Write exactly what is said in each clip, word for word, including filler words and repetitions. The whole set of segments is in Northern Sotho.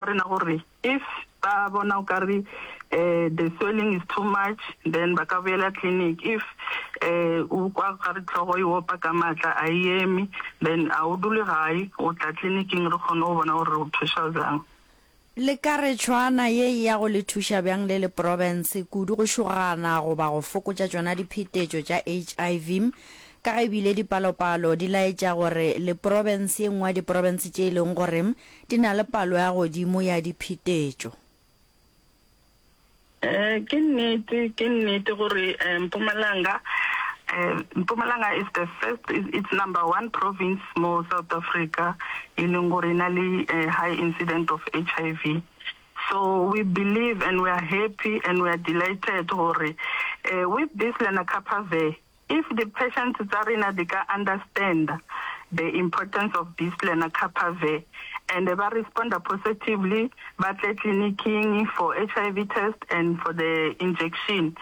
Rena gore if ba bona o kare eh the swelling is too much, then ba ka boela clinic. If eh o kwa gare tlhogo e opa ka matla, a e eme, then a o dule gae, o tla clinicing, re kgone go bona gore re o thuša bjang. Le ka re tšhwaana ye e ya go le thuša bjang le le profense, kudu go šogana goba go fokotša tšona diphetetšo tša H I V, ka ge ebile dipalopalo di laetša gore le profense ye nngwe ya diprofense tše e leng gore di na le palo ya godimo ya diphetetšo? Eh ke nnete, ke nnete gore eh, Mpumalanga eh, Mpumalanga is the first, it's number one province mo South Africa e leng gore e na le eh, high incident of H I V. So we believe and we are happy and we are delighted gore eh, with this Lenacapavir, if the patients tsa rena di ka understand the importance of this Lenacapavir and ba responda positively, ba tle clinicing for H I V test and for the injection,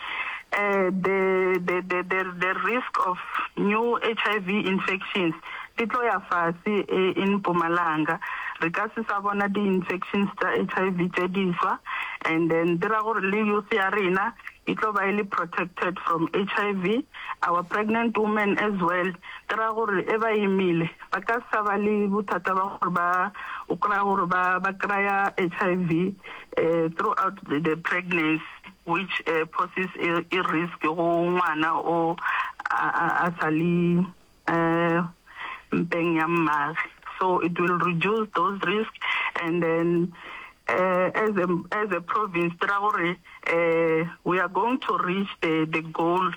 uh, the, the, the, the, the risk of new H I V infections di tlo ya fase eh, in Mpumalanga. Re ka se sa bona di-infections tsa H I V tše diswa, and then dira gore le youth ya rena e tlo ba e le protected from H I V, our pregnant women as well. Dira gore e ba imile ba ka sa ba le bothata ba gore ba o kry-a gore ba ba kry-a H I V uh, throughout the, the pregnancy, which uh, poses a, a risk go ngwana o a, a, a sa le uh, mpeng ya mmage. So it will reduce those risks, and then uh, as a as a province, dira gore uh, we are going to reach the the goal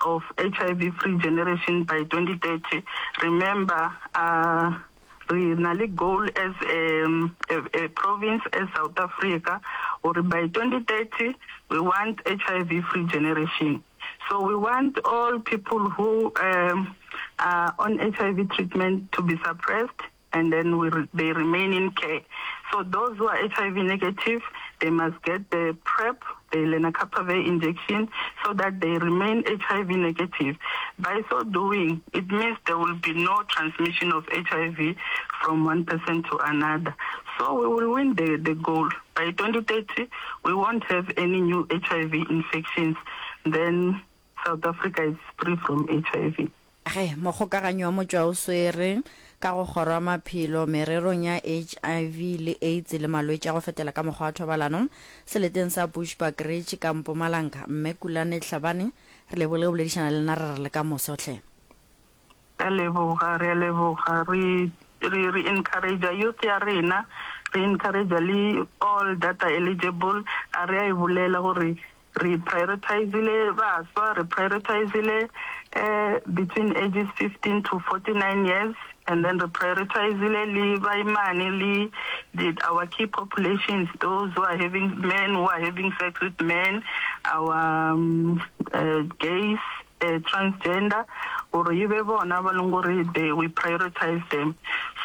of H I V free generation by twenty thirty. Remember, uh, re na le goal as a, a, a province, as South Africa, or by twenty thirty we want H I V free generation. So we want all people who um, are on H I V treatment to be suppressed and then we re- they remain in care. So those who are H I V negative, they must get the PrEP, the lenacapavir injection, so that they remain H I V negative. By so doing, it means there will be no transmission of H I V from one person to another. So we will win the, the goal. By twenty thirty, we won't have any new H I V infections. Then South Africa is free from H I V. Ge mokgokaganyo wa motšwa o swere ka go kgoro ya maphelo mererong ya H I V le AIDS le malwetši a go fetela ka mokgwa wa thobalano seleteng sa Bushbuckridge ka Mpumalanga, mme Kulane Hlabane, re lebogile go boledišana le nna. Re re le ka moso hle. Re leboga, re a leboga. Re re re encourage youth ya rena, re encourage le all that are eligible. A re a e bolela gore re prioritizile baswa, re prioritizile uh, between ages fifteen to forty-nine years, and then re prioritizile le baimane le the, our key populations, those who are having men who are having sex with men, our um, uh, gays, uh, transgender, gore e be bona ba leng gore they we prioritize them.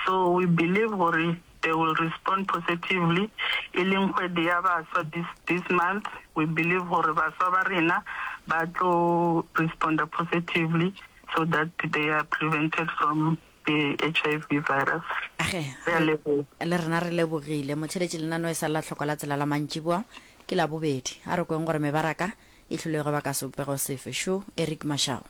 So we believe gore they will respond positively. E leng kgwedi ya baswa this, this month, we believe gore baswa ba rena ba tlo responda positively so that they are prevented from the H I V virus. Age. Re a leboga. Le rena re lebogile motheletše. Lenano e sa lla tlhoko la tsela la mantšiboa ke la bobedi. A re kweng gore mebaraka e hlolego ba ka sebopego sefe. Šo Eric Mashao.